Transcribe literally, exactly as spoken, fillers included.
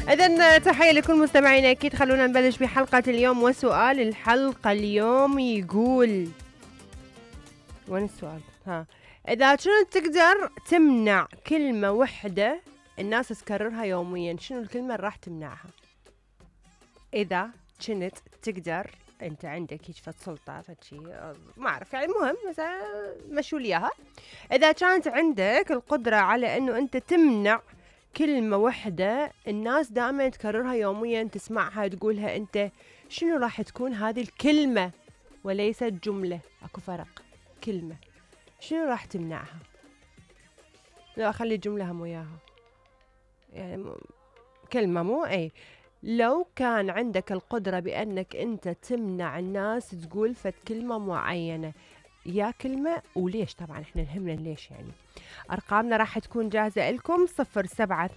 إذن تحية لكل مستمعينا، أكيد خلونا نبلش بحلقة اليوم. وسؤال الحلقة اليوم يقول، وين السؤال؟ ها، إذا كنت تقدر تمنع كلمة وحدة الناس تكررها يوميا، شنو الكلمة اللي راح تمنعها؟ إذا كنت تقدر، أنت عندك هيك فد سلطة فد شي ما أعرف يعني، المهم مثلا مشوا لي إياها. إذا كانت عندك القدرة على إنه أنت تمنع كلمة وحدة الناس دائما تكررها يوميا، تسمعها تقولها أنت، شنو راح تكون هذه الكلمة؟ وليست جملة، أكو فرق. كلمة شنو راح تمنعها؟ لا أخلي الجملة هم وياها، يعني م... كلمة مو أي. لو كان عندك القدرة بأنك أنت تمنع الناس تقول فد كلمة معينة، يا كلمة وليش؟ طبعا احنا نهمنا ليش يعني. أرقامنا راح تكون جاهزة لكم صفر سبعة